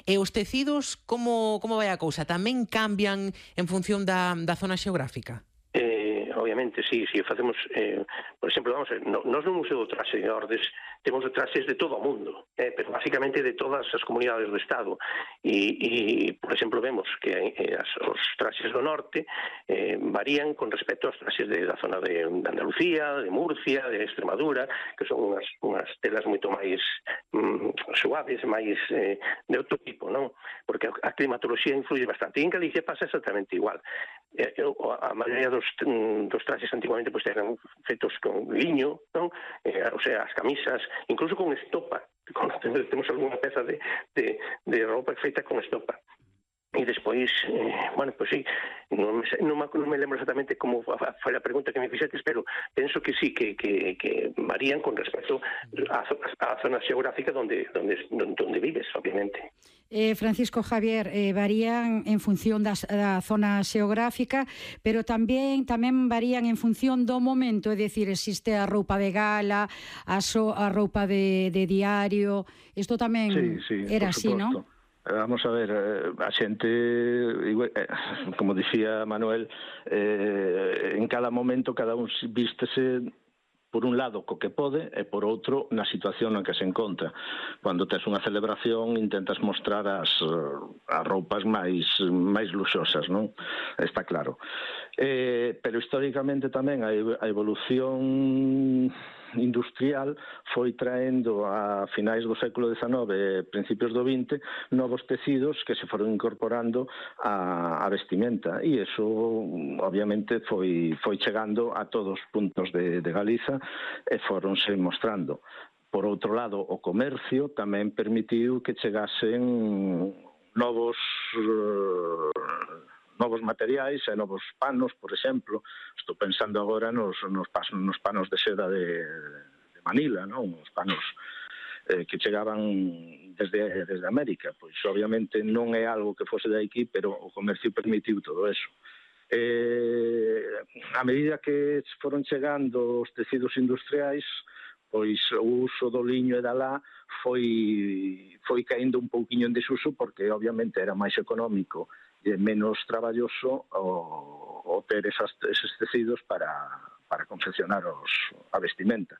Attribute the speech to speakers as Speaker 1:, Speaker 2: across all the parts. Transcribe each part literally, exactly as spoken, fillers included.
Speaker 1: E os tecidos, como, como vai a cousa? Tamén cambian en función da, da zona xeográfica?
Speaker 2: Eh, obviamente, sí, sí, facemos, eh, por exemplo, vamos a ver, no, nós no Museo do Traxe de Ordes temos traxes de todo o mundo, eh, pero basicamente de todas as comunidades do Estado, e, e por exemplo, vemos que eh, as, os traxes do norte eh, varían con respecto aos traxes de, da zona de, de Andalucía, de Murcia, de Extremadura, que son unhas, unhas telas moito máis mm, suaves, máis eh, de outro tipo, non? Porque a climatoloxía influye bastante, e en Galicia pasa exactamente igual. Eh, a maioría dos, dos traxes antiguamente pues, eran feitos con liño, non? Eh, o sea, as camisas, incluso con estopa. Con, temos algunha peza de, de, de roupa feita con estopa. E despois, eh, bueno, pois pues sí, non me, non, me, non me lembro exactamente como foi a pregunta que me fixetes, pero penso que sí, que, que, que varían con respecto á, á zona xeográfica donde, donde, donde vives, obviamente.
Speaker 3: Eh, Francisco Javier, eh, varían en función das, da zona xeográfica, pero tamén tamén varían en función do momento, é dicir, existe a roupa de gala, a, so, a roupa de, de diario, isto tamén
Speaker 4: sí, sí,
Speaker 3: era así, non?
Speaker 4: Vamos a ver, a xente, como dicía Manuel, eh, en cada momento cada un vístese por un lado co que pode e por outro na situación na que se encontra. Cando tes unha celebración intentas mostrar as, as roupas máis máis luxosas, non? Está claro. Eh, pero históricamente tamén a evolución industrial foi traendo a finais do século dezenove e principios do vinte novos tecidos que se foron incorporando a, a vestimenta, e iso obviamente foi, foi chegando a todos os puntos de, de Galiza e foronse mostrando. Por outro lado, o comercio tamén permitiu que chegasen novos novos materiais e novos panos, por exemplo. Estou pensando agora nos, nos, nos panos de seda de, de Manila, non? Os panos eh, que chegaban desde, desde América. Pois obviamente non é algo que fose de aquí, pero o comercio permitiu todo eso. Eh, a medida que foron chegando os tecidos industriais, pois o uso do liño e da lá foi, foi caíndo un pouquiño en desuso, porque obviamente era máis económico e menos traballoso o, o ter esas, eses tecidos para, para confeccionar os, a vestimenta.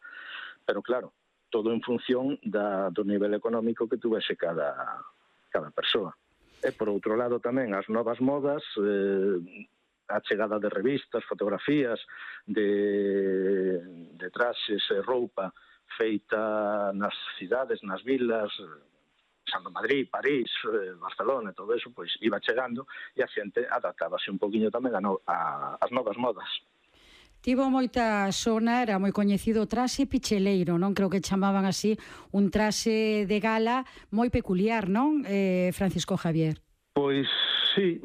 Speaker 4: Pero claro, todo en función da, do nivel económico que tuvese cada, cada persoa. E por outro lado tamén as novas modas, eh, a chegada de revistas, fotografías, de, de traxes e roupa feita nas cidades, nas vilas, Santo Madrid, París, Barcelona, todo eso, pois iba chegando e a xente adaptábase un poquinho tamén a, no, a as novas modas.
Speaker 3: Tivo moita sona, era moi coñecido o traxe picheleiro, non? Creo que chamaban así, un traxe de gala moi peculiar, non, eh, Francisco Javier?
Speaker 4: Pois sí,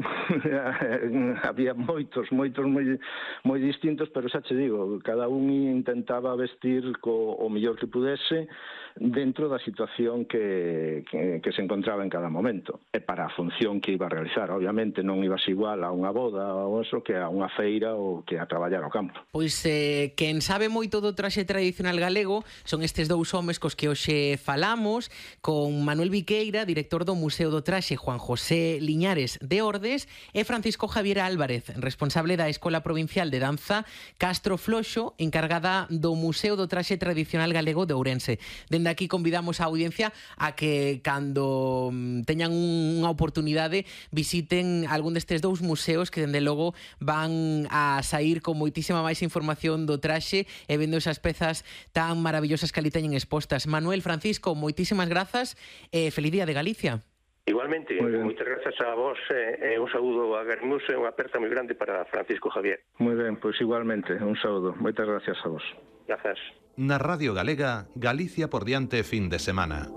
Speaker 4: había moitos, moitos moi, moi distintos, pero xa che digo, cada un intentaba vestir co o mellor que pudese dentro da situación que, que, que se encontraba en cada momento e para a función que iba a realizar. Obviamente non ibas igual a unha boda ou eso que a unha feira ou que a traballar ao campo.
Speaker 1: Pois eh, quen sabe moito do traxe tradicional galego son estes dous homes cos que hoxe falamos, con Manuel Viqueira, director do Museo do Traxe, Juan José Liñares de Ordes, e Francisco Javier Álvarez, responsable da Escola Provincial de Danza Castro Floxo, encargada do Museo do Traxe Tradicional Galego de Ourense. Dende aquí convidamos a audiencia a que cando teñan unha oportunidade visiten algún destes dous museos que dende logo van a sair con moitísima máis información do traxe e vendo esas pezas tan maravillosas que ali teñen expostas. Manuel, Francisco, moitísimas grazas e feliz día de Galicia.
Speaker 2: Igualmente, moitas grazas a vos e eh, un saúdo a Garmus e unha aperta moi grande para Francisco Javier.
Speaker 4: Moi ben, pois igualmente, un saúdo. Moitas gracias a vos.
Speaker 2: Grazas.
Speaker 5: Na Radio Galega, Galicia por diante fin de semana.